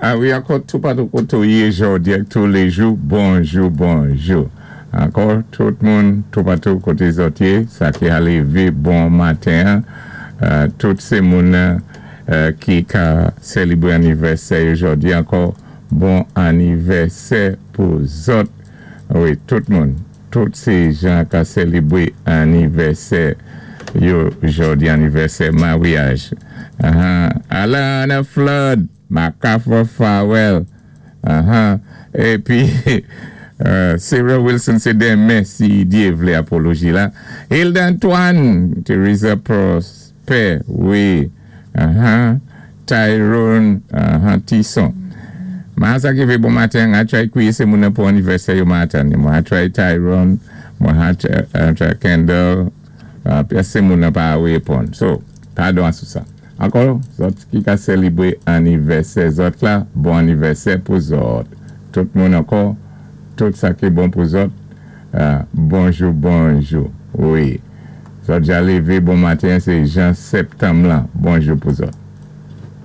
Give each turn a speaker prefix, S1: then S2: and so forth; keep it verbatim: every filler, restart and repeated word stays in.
S1: Ah wi, ankò toupatou koté ou yé jòdi ak touléjou, bonjou, bonjou. Ankò, tout moun, toupatou koté zòt yé, sa ki a lévé bon maten, euh, tout sé moun euh, ki ka sélibré anivèsè jòdi ankò, bon anivèsè pou zòt. Wi, tout moun, tout sé jan ka sélibré anivèsè yo jòdi, anivèsè maryaj. Uh-huh. Alana Flood, Macafa Farwell, uh-huh. Épi, euh, Sarah Wilson, sé denmen, si Dye vlé apoloji la. Hilda Antoine, Teresa Prosper, wi. Uh-huh. Tyrone uh-huh. Tisson. Mwen sa ki fè bon maten, a try kwiyé sé moun pou anivèsè yo maten. Mwen a try Tyrone, mwen a try Kendall, uh, pi sé moun pa réponn. So, padon sou sa. Ankò, zòt ki ka sélibré anivèsè zòt la, bon anivèsè pou zòt. Tout moun ankò, tout sa ki bon pou zòt, uh, bonjou, bonjou. Wi. Zòt ja lévé bon maten, sé jan septanm la, bonjou pou zòt.